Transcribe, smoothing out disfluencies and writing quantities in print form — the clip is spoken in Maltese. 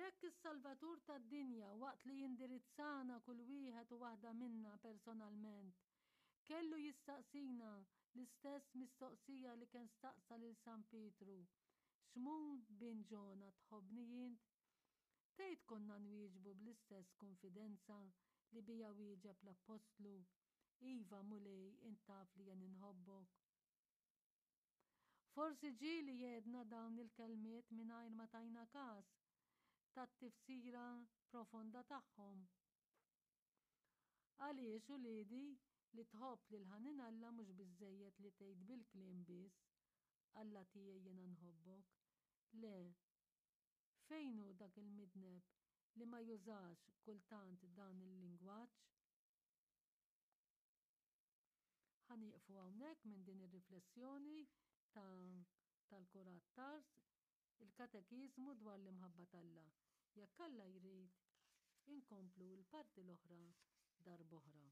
Jekk is-Salvatur tad-dinja waqt li jindirizzana kull wieħed u waħda minna personalment, kellu jistaqsina l-istess mistoqsija li kien staqsa lil San Pietru, Xmun bin Ġona tħobbni int? Tgħid konna nwieġbu bl-istess kunfidenza li biha wieġeb l-appostlu, Iva, Mulej, int taf li jien inħobbok? Forsi ġieli għedna dawn il-kelmiet mingħajr ma tajna każ tat-tifsira profonda tagħhom. Għaliex, uliedi, li tħobb lil ħanin Alla mhux biżżejjed li tgħid bil-kliem biss, Alla tiegħi jiena nħobbok. Le. Fejn hu dak il-midneb li ma jużax kultant dan il-lingwaġġ? Ħa nieqfu hawnhekk minn din ir-riflessjoni ta' tal-Kurat Tars, il-Katekiżmu dwar l-imħabba t'Alla. Jekk Alla jrid, inkomplu l-parti l-oħra darb'oħra.